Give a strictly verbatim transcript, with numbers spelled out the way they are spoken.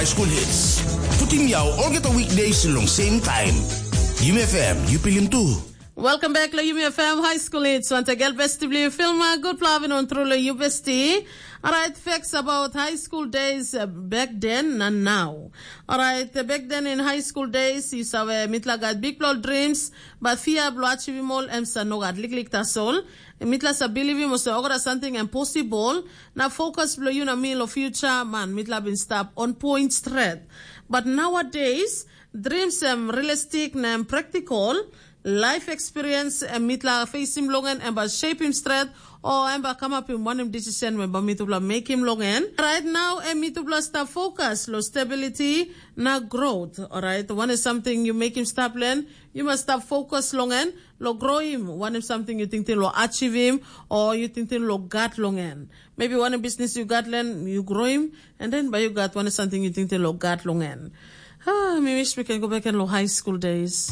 School Hits. Putim yau olgeta weekdays long same time. Yumi F M, yu pilim tu. Welcome back lo Yumi F M High School Hits. Once again, best to be filma. Good loving on through lo you bestie. Alright, facts about high school days uh, back then and now. Alright, uh, back then in high school days, you saw uh, mitla got big blood dreams, but fear blood chivimol em sa no got lik lik tasol. Mitla sa believe him was ogara something impossible. Na focus blo you na me lo future man. Mitla bin stop on point straight. But nowadays, dreams em realistic na em practical. Life experience em mitla facing long en em ba shape him straight. O em ba come up him one him decision when ba mitubla make him long en. Right now, em mitubla stop focus lo stability na growth. Alright, one is something you make him stop learn. You must stop focus long en. Lo grow him, one is something you think lo achieve him, or you think lo gat long en. Maybe one business you gat learn, you grow him, and then by you got one is something you think lo gat long en. Ah, mi wish we can go back and lo high school days.